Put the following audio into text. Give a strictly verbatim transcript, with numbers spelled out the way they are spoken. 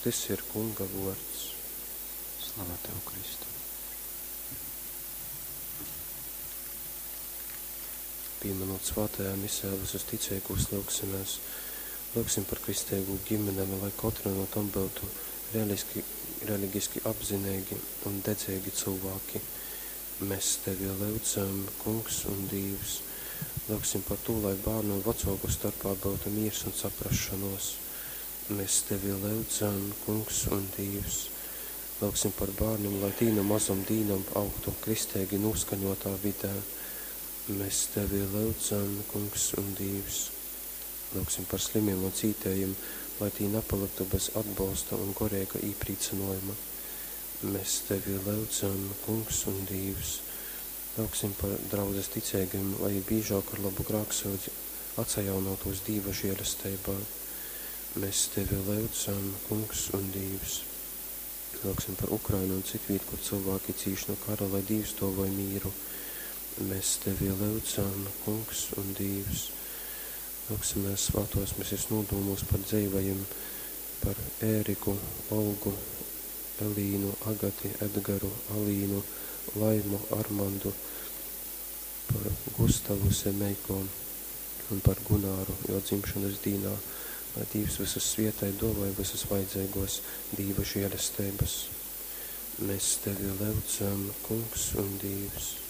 Tys ir Kunga vuords. Slava Tev, Kristu! Pīminūt svātajā misē visus ticeigūs, lyugsimēs. Lyugsim par kristeigū gimenēm, lai kotra no tom byutu reliski, religiski apzineigi un dedzeigi cylvāki. Mēs Tevi lyudzam, Kungs un Dīvs. Lyugsim par tū, lai bārnu un vacuoku storpā byutu mīrs un saprasšonuos. Mēs Tevi lyudzam, Kungs un Dīvs. Lyugsim par bārnim, lai tī nu mozom dīnom augtu kristeigi nūskaņuotā vidē. Mēs Tevi lyudzam, Kungs un Dīvs. Lyugsim par slimim un cītējim, lai tī napalyktu bez atbolsta un goreiga īprīcynuojuma. Mēs Tevi lyudzam, Kungs un Dīvs. Lyugsim par draudzes ticeigajim, lai jī bīžāk ar lobu grāksyudzi atsajaunuotūs Dīva žielesteibā. Mēs Tevi lyudzam, Kungs un Dīvs. Lyugsim par Ukrainu un citvīt, kur cylvāki cīš nu kara, lai Dīvs duovoj mīru. Mēs Tevi lyudzam, Kungs un Dīvs. Lyugsimies svātuos misis nūdūmūs par dzeivajim, par Ēriku, Olgu, Elīnu, Agati, Edgaru, Alīnu, Laimu, Armandu, par Gustavu Semeiko un par Gunāru juo dzimšonys dīnā, lai Dīvs vysus svietej, duovoj vysys vajadzeiguos Dīva žielesteibys. Mēs Tevi lyudzam, Kungs un Dīvs.